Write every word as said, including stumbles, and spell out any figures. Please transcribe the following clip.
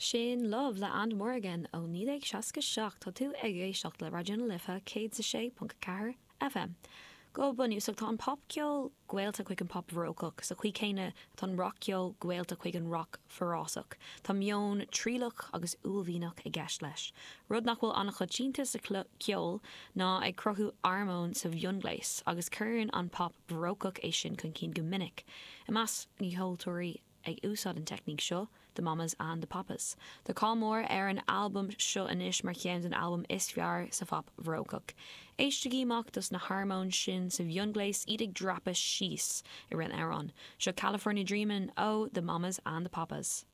Sin Love le And Morgan ó naoi déag seasca seacht tá tú ag éisteacht le Raidió na Life céad a sé ponc ceathair FM. Go bunúsach tá an popcheol gaolta chuig an pop bharócach sa chaoi chéanna tá an rockcheol gaolta chuig an rock forásach. Tá meon trialach agus uaillmhianach i gceist leis. Rud nach bhfuil an-choitianta sa ceol ná ag cruthú armóin sa mhionghléas agus cuireann an pop barócach é sin chun cinn go minic. I measc na gceoltóirí ag úsáid an teicníc seo, The Mamas and the Papas. Tá cáil mór ar an albam seo anois mar cheann den albam is fearr sa phop bharócach. Éistigí amach dos na harmóin sin sa mhionghléas iad ag dreapadh síos i rith an amhráin. Seo California Dreamin' ó The Mamas and the Papas.